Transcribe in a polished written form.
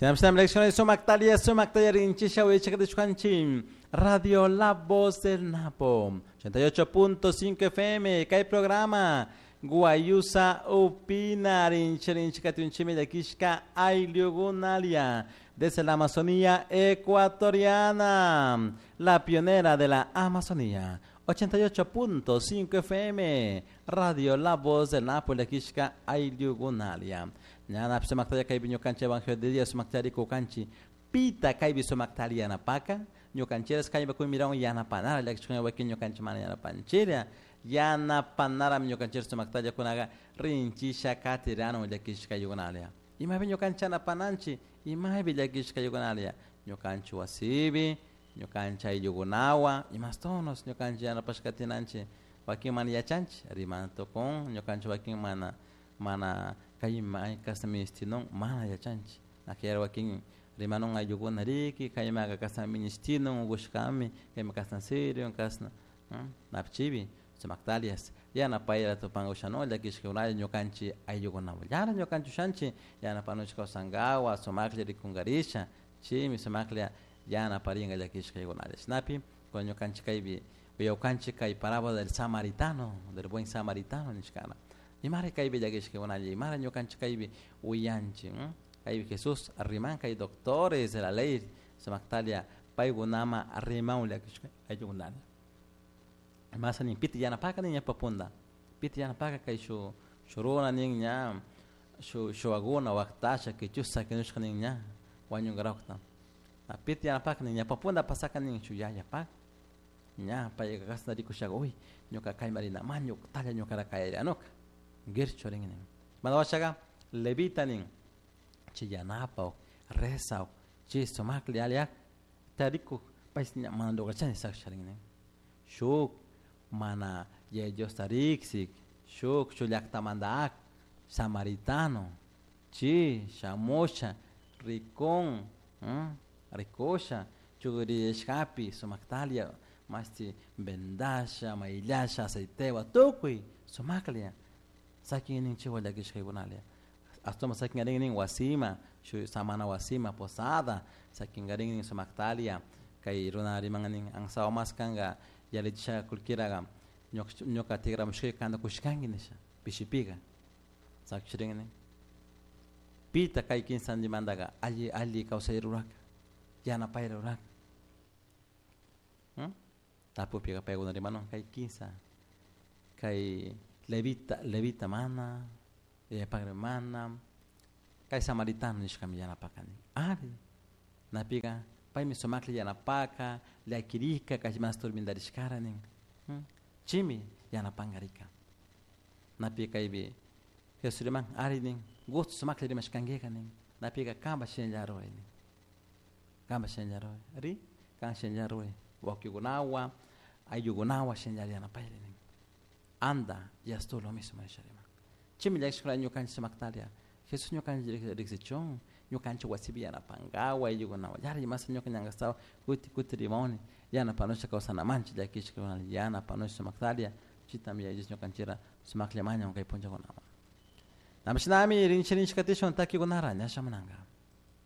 Tenemos sumaktalia sumaktalia rinchisha uyachakatishkanchi Radio La Voz del Napo 88.5 FM kay programa Guayusa Upina rinchirinchikatunchimi llakishka ayllugunalia desde la Amazonía ecuatoriana, la pionera de la Amazonía. 88.5 FM, Radio La Voz del Napo, llakishka ayllugunalia. Ñana sumaktalla kaypi ñukanchik evangelio de Dios sumaktari kukanchi pita kaypi sumaktari yanapaka ñukanchiras kaypa kuymiran yanapanara llakishkuna wakin ñukanchik mana yanapanchira yanapanarami ñukanchik sumaktalla kunaqa rinchisha katiranu llakishka ayllukunalia. Imapi ñukanchik yanapananchik imaypi llakishka ayllukunalia ñukanchik wasipi ñukanchik ayllukunawan imastonos ñukanchik yanapashka katinanchik wakin mana yachanchik rimana tukun ñukanchik wakin mana mana kay may kasna ministinun mana yachanchik akayar wakin rimanun ayllukuna riki kaymaka kasna ministinun unkushkami kayma kasna sirvin kasna napichipi sumaktalias yanapayra tupanka ushanun llakishkakunalla ñukanchik ayllukunawan llana ñukanchik ushanchik yanapanuchik kawsankawa sumaklla rikunkarisha chaymi sumaklla yanaparinka llakishka ayllukunalla chashnapi kunan ñukanchik kaypi uyawkanchik kay parábola del samaritano, del buen samaritano nishkana. Imara kaypi llakishkakunalla imara ñukanchik kaypi uyanchik kaypi Jesús riman kay doctores de la ley sumaktalia paykunama riman llakishka ayllukunalla. Masa nin pita yanapaka nin ñawpa punta pita yanapaka kay shuk runa nin ña shuk shuwakuna waktasha kichusha sakinushka nin ña wañunkarakta pita yanapaka nin ñawpa punta pasaka nin shuk yayapak ña payka kashna rikushaka uy ñuka kayman rinaman ñuktalla ñukara kayarianuka guirchu rin nin mana washaka levita nin chay yanapak rezak chay sumaklla alliyak tarikuk paysh ña mana lograchani saksharin nin shuk mana Yaya Diosta riksik shuk shuk llaktamanta ak samaritano chi shamusha rikun rikusha chukriyashkapi sumaktalia mashti vendasha mayllasha aceitewan tukuy sumaklla sakin nin chaywan llakishkaykunalia ashtawan sakinkarin nin wasima shuk samana wasima posada sakinkarin nin sumaktalia kay runa riman nin ansawa mas kanka yallichisha kullkiraga ñuka tigramushkayka kanta kushkanki nisha pishipika sakshirin nin pita kay kinsantimantaka alli alli kawsay ruraka yanapayta ruraka tapupika paykuna rimanun kay kinsa kay levita levita mana yayapakri mana kay samaritano nishkami yanapaka nin ari napika paymi sumaklla yanapaka llakirika kay mas turmintarishkara nin chaymi yanapankarika napi kaypi Jesús riman ari nin gusto sumaklla rimashkankika nin napika kanpash shinalla ruray nin kanpash shinalla ruray ri kan shinalla ruray wawkikunawan ayllukunawan shinalla yanapayri nin anda y haz tú lo mismo nisha riman chaymi llakishkuna ñukanchik sumaktalia Jesús ñukanchik riksichun ñukanchik wasipi yanapankawa ayllukunawan yari imasa ñuka ñankastawa kuti kuti rimawni yanapanusha kawsanamanchik llakishkuna yanapanusha sumaktalia chaytami Yaya Dios ñukanchikra sumaklla mañan kay punllakunawan. Namashinami rinchi rinchi katishun takikunara ña shamunanka.